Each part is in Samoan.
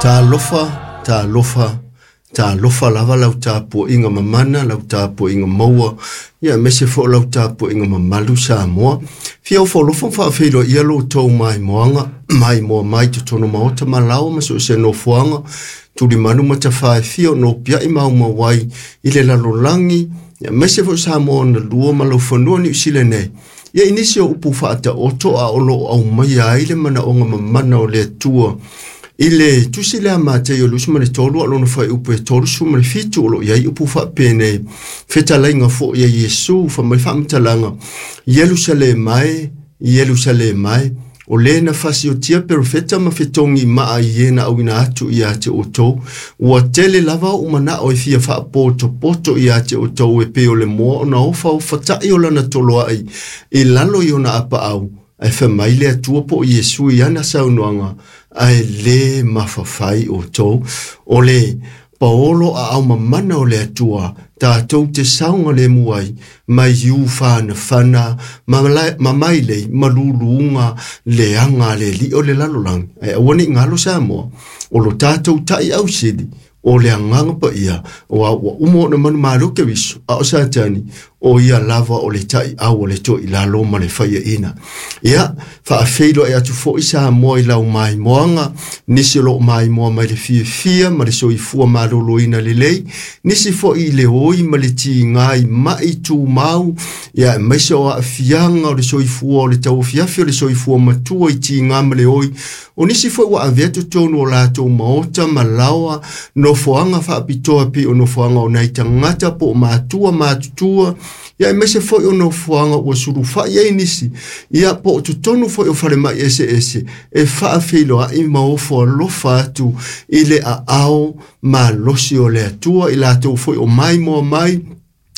Talofa, talofa, talofa lava lau tapuaiga mamana, lau tapuaiga maua, ia aemaise foi o lau tapuaiga mamalu Samoa. Fia ofoalofa ma faafeiloaia lo outou maimoaga, maimoa mai totonu maota ma laoa ma so o se nofoaga, tulimanu ma tafaefia o nopiai maumau ai i le lalolagi, ia aemaise foi o Samoa ona lua ma laufanua Niu Sila nei. Ia i nisi o upu faataoto a o lo o aumaia ai le manaoga mamana o le Atua i le tusi lea Matei 23 a lona fuaiupu e 37 o lo o i ai upu faapenei, fetalaiga foi a Iesu fai mai faamatalaga, Ierusalema e, Ierusalema e, o le na fasiotia perofeta ma fetogi maa i e na auina atu ia te outou, ua tele lava ou manao e fia faapotopoto ia te outou e pei o le moa ona ofaofatai o lana toloai i lalo i ona apaau, ae fai mai le Atua po o Iesu i ana saunoaga, ae lē mafafai outou. O le paolo aao mamana o le Atua, tatou te saogalemu ai, mai iu whanawhana, ma mailei, ma luluga, leaga a le alii o le lalolagi. Ae aua ne i galo Samoa, o lo tatou tai ausili, o le agaga paia, ua uma ona manumalo Keriso, a o Satani, o ia lava o le taiau o le toilalo ma le faiaina. Ia, faafeiloai atu foi Samoa i lau maimoaga, nisi o loo maimoa mai le fiafia ma le soifua maloloina lelei, nisi foi i le oi ma le tiga i mai tumau, ia aemaise o aafiaga o le soifua o le tauafiafi o le soifua matua i tiga ma le oi, o nisi foi ua avea totonu o latou maota ma laoa, nofoaga faapitoa pei o nofoaga o nai tagata po o matua matutua, ia aemaise foi o nofoaga ua sulufai ai nisi, ia po o totonu foi o falemai eseese, e faafeiloai ma ofo alofa atu i le aao malosi o le Atua i latou foi o maimoa mai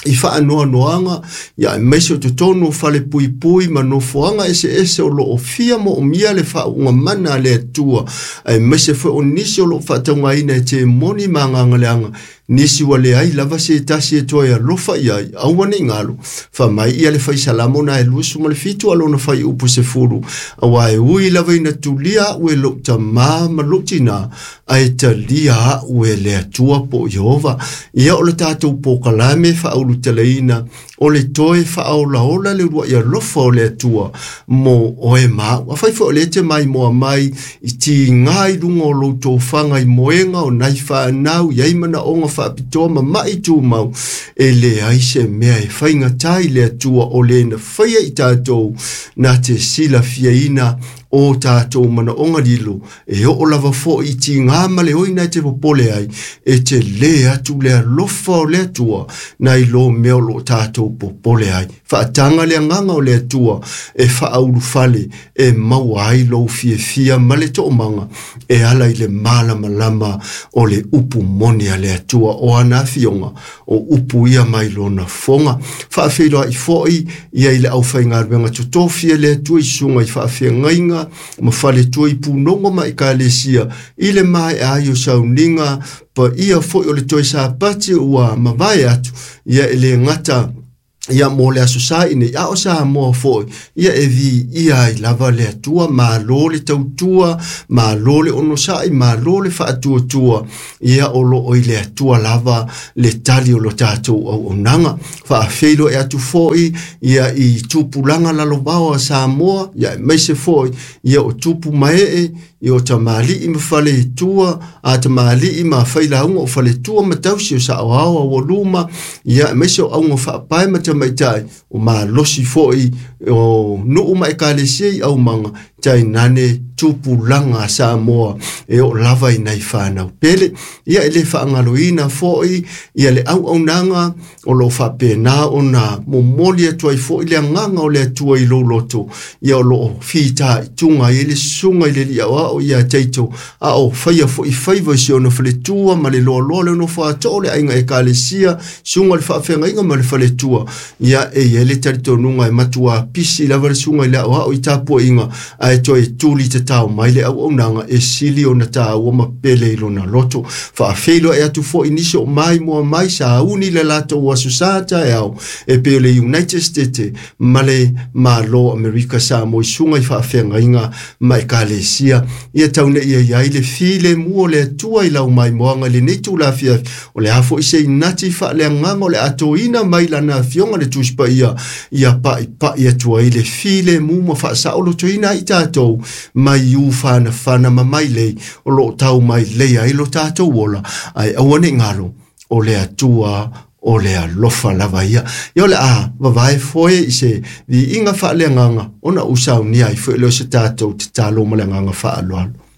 i faanoanoaga, ia aemaise o totonu o fale puipui ma nofoaga eseese o loo fia moomia le faauuga mana a le Atua, aemaise foi o nisi o loo faataugaina e temoni ma agaga leaga, nisi ua leai lava se tasi e toe alofa i ai, aua ne i galo, fai mai ia le faisalamo na e 27 a lona fuaiupu 10, aua e ui lava ina tulia au e lou tamā ma lou tinā, ae talia au e le Atua po o Ieova. Ia o le tatou polokalame faaulutalaina, o le toe faaolaola le uluai alofa o le Atua mo oe ma au. Afai foi o lea e te maimoa mai i tiga i luga o lou tofaga i moega o nai fanau, i ai manaoga faapitoa ma mai tumau, e leai se mea e faigata i le Atua o le na faia i tatou na te silafiaina o tatou manaoga lilo, e oo lava foi i tiga ma le oi na e te popole ai, e te lē atu le alofa o le Atua nai lo mea o loo tatou popole ai. Faataga le agaga o le Atua e faaulufale e maua ai lou fiafia ma le toomaga e ala i le malamalama o le upu moni a le Atua o ana afioga, o upu ia mai lona fofoga. Faafeiloai foi ia i le aufaigaluega totofi e le Atua i susuga i faafeagaiga ma faletua i punogo ma ekalesia i le maea ai o sauniga paia foi o le toe sapati ua mavae atu, ia e le gata ia mo le aso sa i nei, a o Samoa foi, ia e viia ai lava le Atua, malo le tautua, malo le onosai, malo le faatuatua, ia o loo i le Atua lava le tali o lo tatou auaunaga. Faafeiloai atu foi ia i tupulaga lalovao a Samoa, ia aemaise foi ia o tupu maee, ia o tamalii ma faletua, a tamalii ma failauga o faletua ma tausi o saoao aualuma, ia aemaise o auga faapae ma tamaitai, o malosi foi o nuu ma ekalesia i aumaga, tainane tupulaga a Samoa e oo lava i nai fanau pele. Ia e le faagaloina foi ia le auaunaga o loo faapena ona momoli atu ai foi le agaga o le Atua i lou loto, ia o loo fitaituga ai le susuga i le alii aoao ia Taito, a o faia foi faiva i si ona faletua ma le loaloa le nofo atoa o le aiga ekalesia, susuga i le faafeagaiga ma le faletua. Ia e i ai le talitonuga e matua pisi lava le susuga i le aoao i tapuaiga, ae toe tuli tatau tao mai le auaunaga e sili ona tāua ma pele i lona loto. Faafeiloai atu foi nisi o mai mua mai sauni le latou aso sa taeao e pei o le United States ma le Malo Amerika Samoa i suga i faafeagaiga ma ekalesia. Ia tau nei ia iai le filemu o le Atua i lau maimoaga i lenei itula afiafi. O le a foi se inati faaleagaga o le a toina mai lana afioga le Tusi Paia ia pa'ipa'i atu ai le filemu ma faasaolotoina ai tatou mai ufanafana ma mailei o loo tau mai lei ai lo tatou ola, ae aua nei galo o le Atua o le alofa lava ia. Ia o le a vavae foe i se viiga faaleagaga ona ou saunia ai foi lea o se tatou tatalo ma le agaga faaaloalo.